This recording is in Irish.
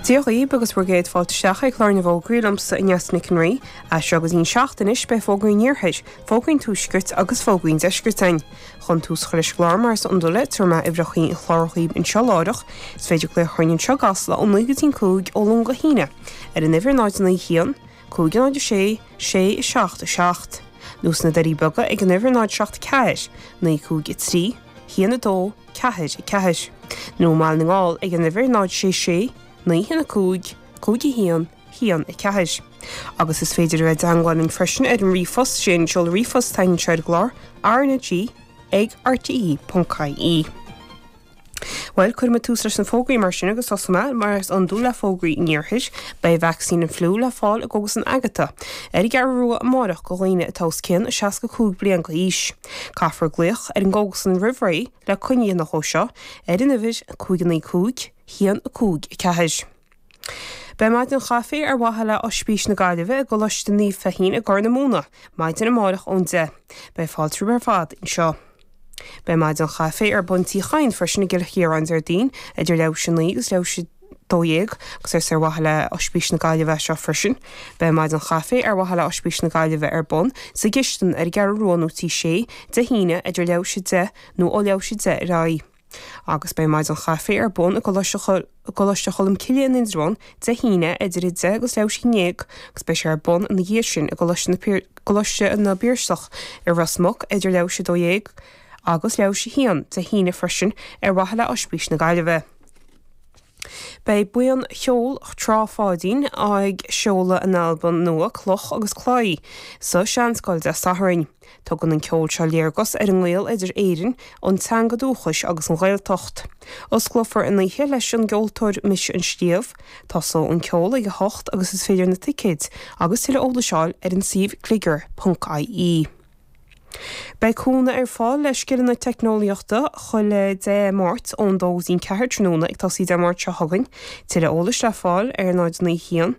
Dia dhaoibh agus bhur gcéad fáilte isteach ag clár na bhfógraí liomsa Neasa Nic an Rí. As seo go dtí an 7 anois beidh fógraí an iarthair, fógraí an tuaiscirt agus fógraí an deiscirt againn. Chun tús a chur leis an gclár mar is iondúil tabharfaidh mé uimhreacha an chláir dhaoibh anseo láithreach. Is féidir glaoch orainn anseo i gCasla ó 9 go dtí an 5 ó Luan go hAoine ar an uimhir 0 9 1 5 0 6 6 7 7 nó sna Doirí Beaga ag an uimhir 0 7 4 9 5 3 1 2 4 4 nó i mBaile na nGall ag an uimhir 0 6 6 9 1 5 5 1 1 4. Agus is féidir a bheith i dteangmháil linn freisin ar an ríomhphost, sé an seoladh ríomhphost atá anseo ar an gclár, RnaG ag rte.ie. Bhuel, cuirfidh muid tús leis na fógraí mar sin agus tosóidh mé, mar is iondúil, le fógraí an iarthair. Beidh vacsaín an fliú le fáil i gCógaslann Agatha ar an gCeathrú Rua amárach do dhaoine atá os cionn 65 bliain d'aois. Caithfear glaoch ar an gcógaslann roimh ré le coinne a dhéanamh dhó seo ar an uimhir 595 1 5 4. Beidh maidin chaife ar mhaithe le Oispís na Gaillimhe i gColáiste Naomh Feichín i gCorr na Móna maidin amárach ón 10. Beidh fáilte romhaibh ar fad anseo. Beidh maidin chaife ar bun Tí Chadhain freisin i gCill Chiaráin Déardaoin idir leathuair théis 9 agus leathuair théis 12 agus is ar mhaithe le Oispís na Gaillimhe é seo freisin. Beidh maidin chaife ar mhaithe le Oispís na Gaillimhe ar bun sa gcistin ar an gCeathrú Rua nó Tí Sé Dé hAoine idir leathuair théis 10 nó ó leathuair théis 10 ar aghaidh. Agus beidh maidin chaife ar bun i gColáiste Cholm Cille in Indreabhán Dé hAoine idir 10 agus leathuair théis 11 agus beidh sé ar bun ina dhiaidh sin i gColáiste na bPiarsach i Ros Muc idir leathuair théis 12 agus leathuair théis 1 Dé hAoine freisin ar mhaithe le Oispís na Gaillimhe. Beidh buíon cheoil Trá Pháidín ag seoladh a n-albam nua Cloch agus Claí sa Seanscoil Dé Sathairn. Tugann an ceol seo léargas ar an ngaol idir Éirinn, an teanga dúchais agus an Ghaeltacht. Osclófar an oíche leis an gceoltóir Mise an Sliabh. Tosóidh an ceol ag 8 agus is féidir na ticéid agus tuilleadh eolais a fháil ar an suíomh gliogar.ie. Beidh cúnamh ar fáil le scileanna teicneolaíochta chuile Dé Máirt ón 2 go dtí an 4 tráthnóna ag tosaí Dé Máirt seo chugainn. Tuilleadh eolais le fáil ar 0 9 1.